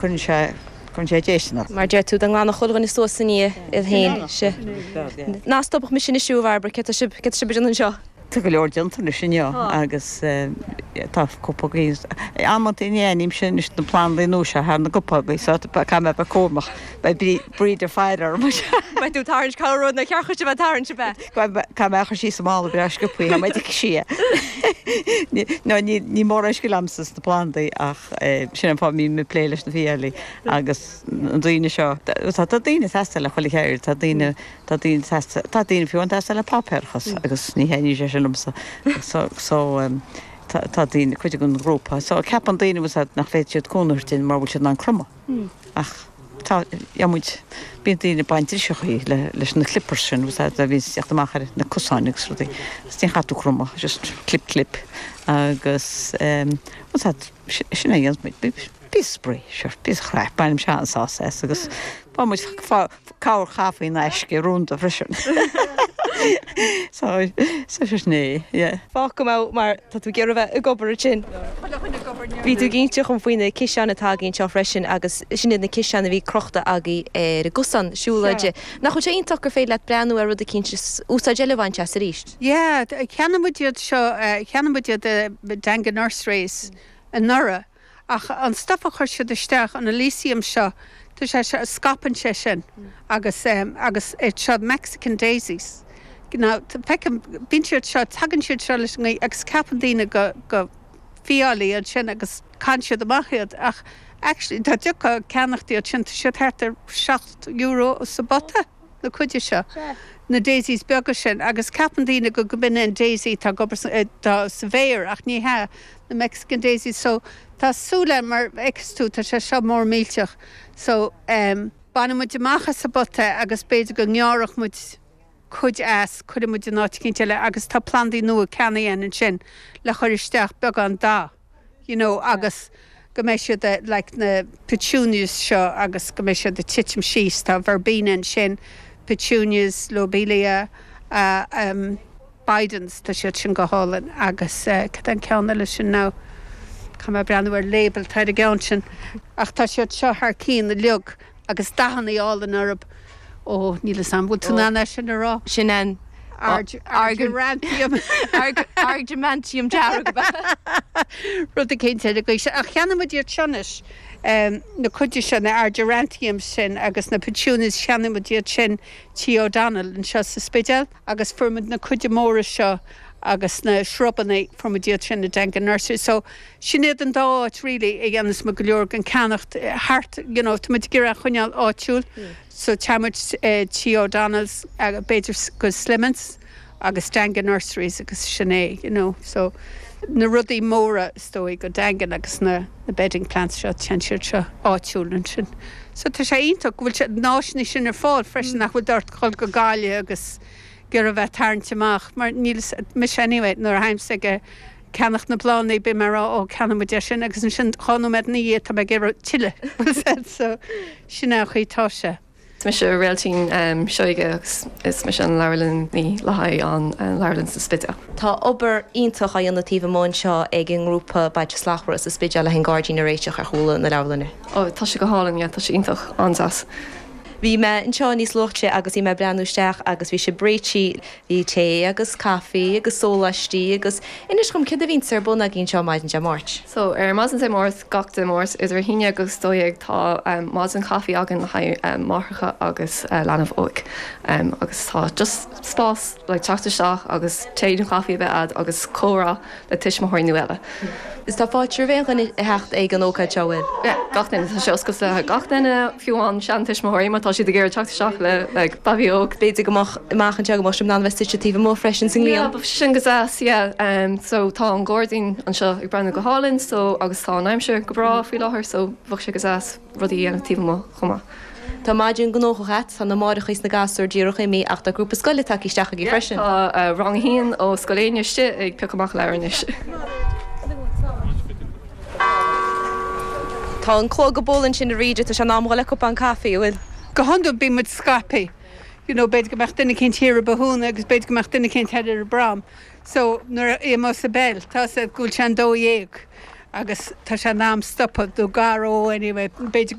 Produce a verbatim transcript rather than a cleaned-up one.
Cuireann sé cuireann sé déisteanach. Mar deir tú an nglanfadh chuile dhuine suas ina dhiaidh féin. Sea. Ná stopfadh mise anois a Bhairbre, cé tá sibh cé tá sibh ag déanamh anseo? Tá go leor déanta anois inniu agus tá cupógaí amantaí ní aithnímse anois na plandaí nua seo thar na gcupógaí so caithfidh mé a bheith cúramach. Beidh Bríd ag faire orm. Beidh tú ag tarraingt cabhair rud na cearcha bheith tarraingt a bheith. Caithfidh mé a chur síos sa mála breá sciobtha tá mé ag sí. No ní ní mórán scil agamsa sna plandaí ach sin an fáth a mbím ag plé leis na fiailí agus na daoine seo tá tá daoine ag teastáil le chuile cheird, tá daoine tá daoine ag teastáil tá daoine fiú ag teastáil le páipéarachas agus ní thaitníonn sé sin liomsa so so tá tá daoine cuid den ghrúpa so ceapann daoine nach bhféadfaidh siad cúnamh a thabhairt dúinn mar bhfuil siad in ann cromadh ach tá muid bíonn daoine ag baint driseachaí le leis na clippers sin a bhíonn ag teacht amach ar na cosáin agus rudaí agus ní chaithfidh tú cromadh just clip clip agus sin é a dhéanann muid bí spraoi sure bí chraic bainim se an-sásamh as agus bá muid cabhair chaife in aisce rúnda freisin. So so sin é yeah. Fág go mbeadh mar tá tú ag iarraidh bheith ag obair ansin. Bhí tú ag inse dhom faoi na ciseáin atá againn anseo freisin agus sin iad na ciseáin a bhí crochta agaibh ar an gcosán siúlóide. Nach bhfuil sé iontach gur féidir leat breathnú ar rud eicínt is úsáid eile a bhaint as arís? Yeah, cheannaigh muid iad seo cheannaigh muid iad i Daingean Nurseries anuraidh ach an stuff a chuir siad isteach an Alyssum seo tá sé seo scaipeann sé sin agus um, agus seo Mexican daisies. Now feicim bíonn siad seo tagann siad seo leis an ngaoth agus ceapann daoine go go fiailí ansin agus caitheann siad amach iad ach actually tá deoca ceannacht iad sin tá siad thart ar seacht euro sa bpota na cuide seo. Na daisies beaga sin agus ceapann daoine go go b'in an daisy tá gobar tá sa bhféar ach ní hea na Mexican daisies so tá súile mar fheiceann tú tá sé seo mór millteach so um, bainfidh muid amach as an bpota agus b'fhéidir go ngearrfadh muid cuid as cuirfidh muid in áit eicínt eile agus tá plandaí nua ceannaithe ansin le chur isteach beagán dath you know agus go mbeidh siad like na petunias seo agus go mbeidh siad ag titim síos tá verbena ansin petunias lobelia uh, um, Bidens tá siad sin go hálainn agus uh, cad an ceann eile sin ná Tá mé breathnú ar label tá a gceann sin ach tá siad seo thar cinn uilig agus dathanna álainn orthu ó níl an bhfuil tú ná sin a rá. Sin an Argyranthemum Argymantium dearg. Rud cinnte go ach cheannaigh muid iad seonis na cuide sin na Argyranthemum sin agus na petunias cheannaigh muid iad sin Tí O'Donnell anseo sa Spidéal agus fuair muid na cuide móra seo agus na shrubanna fuair muid iad sin i Daingean Nursery. So sin iad an dá áit really a dhéanas muid go leor den ceannacht thart you know, tá muid ag iarraidh choinneáil áitiúil. So tá muid Tí O'Donnell's b'fhéidir go Slimmons agus Daingean Nurseries agus sin é, you know. So na rudaí móra is dóigh go Daingean agus na, na bedding plants seo téann siad seo áitiúil ansin. So tá sé iontach go bhfuil sé náisna sin ar fáil freisin nach bhfuil dort chul go Gaillimh agus gur a bheith tarraingt amach mar níl mis anyway nuair a théimse ag ceannach na bláthanna bím mar ó ceannaigh muid sin agus ansin dhá nóiméad ina dhiaidh tá mé ag iarraidh tuilleadh so sin é chuí tá sé. Is mise Réaltín um, Seoige agus is mise an leabharlannaí le haghaidh an leabharlann sa Spidéal. Tá obair iontach á dhéanamh taobh amuigh anseo ag an ngrúpa Bailte Slachtmhara sa Spidéal le an gairdín a réiteach ar chúl na leabharlainne. Ó tá sé go hálainn tá sé iontach an-deas. Bhí mé anseo níos luaithe agus bhí mé breathnú isteach agus bhí sé réitithe bhí tae agus caife agus sóláistí agus inis dom cad a bhíonn ar bun agaibh anseo maidin Dé Máirt. So ar maidin Dé Máirt gach Dé Máirt idir haon agus dó dhéag tá um, maidin caife againn le haghaidh um, máithreacha agus uh, leanbh óg. Um, agus tá just spás le teacht isteach agus tae nó caife a bheith agat agus comhrá le tuismitheoirí nó eile. Is tá fáilte roimh aon duine a theacht ag an ócáid seo bhfuil. Gach duine tá sé oscailte gach duine fiú an seantuismitheoirí má tá siad ag iarraidh teacht isteach le le babaí óg. B'fhéidir go mbeadh amach anseo go mbeadh sibh in ann bheith suite taobh amuigh freisin sa ngrian. sin go deas yeah. um, so tá an gairdín anseo ag breathnú go hálainn so agus tá an aimsir go breá faoi láthair so bheadh sé go deas rudaí a dhéanamh taobh amuigh chomh maith. Tá maidin gnóthach agat tá na máithreacha is na gasúir díreach imithe ach tá grúpa scoile tagtha isteach agaibh freisin. Tá uh, rang a haon ó Scoil Éinne istigh ag piocadh amach leabhar anois. Tá an clog ag bualadh ansin arís tá sé in am le cupán caife bhfuil. Go hiondúil bíonn muid scaipthe. You know, b'fhéidir go mbeadh duine eicínt thiar i Bohoona agus b'fhéidir go mbeadh duine eicínt thoir ar an bProm. So nuair a i sa bell tá sé go bhfuil sé an dó dhéag Agus tá sé in am stopadh nó gar dó anyway, b'fhéidir.